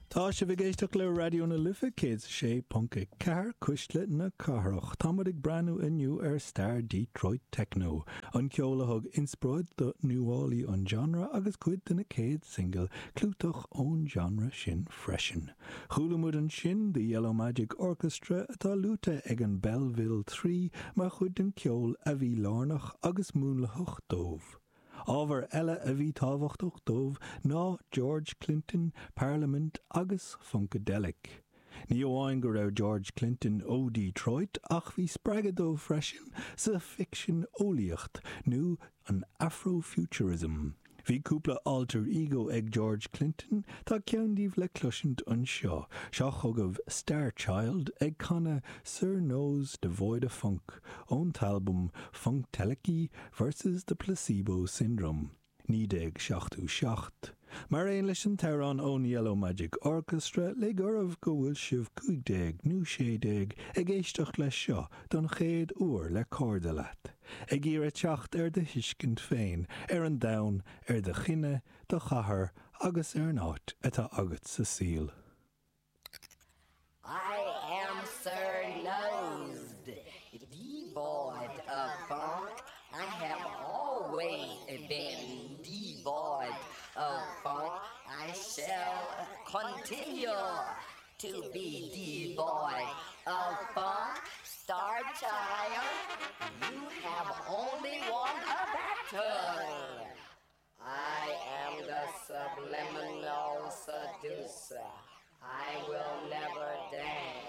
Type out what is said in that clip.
Tá sibh ag éisteacht le Raidió na Life 106.4, Cuisle na Cathrach. Tá muid ag breathnú inniu ar stair Detroit Techno, an ceol a thug inspioráid do nuálaí an genre agus cuid de na céad singil clúiteach ón genre sin freisin. Chuala muid ansin The Yellow Magic Orchestra atá luaite ag an Belleville 3 mar chuid den ceol a bhí lárnach agus múnlaitheach dóibh. Ábhar eile a bhí tábhachtach dóibh ná George Clinton, Parliament agus Funkadelic. Ní amháin go raibh George Clinton ó Detroit ach bhí spreagadh dóibh freisin sa ficsean eolaíocht nó an Afrofuturism. Bhí cúpla alter ego ag George Clinton, tá ceann díobh le cloisint anseo. Seo chugaibh Starchild ag canadh Sir Nose Devoid of Funk ón t-albam Funktelechy Versus the Placebo Syndrome, 1977. Mar aon leis an t-amhrán ón Yellow Magic Orchestra, lig oraibh go bhfuil sibh 15 nó 16 ag éisteacht leis seo don chéad uair le cairde leat, ag iarraidh teacht ar do thuiscint féin ar an domhan, ar do chine, do chathair agus ar an áit atá agat sa saol. I am Sir Nose, devoid of funk. I have always been devoid of funk. I shall continue to be devoid of funk. Star child, you have only won a battle. I am the subliminal seducer. I will never dance.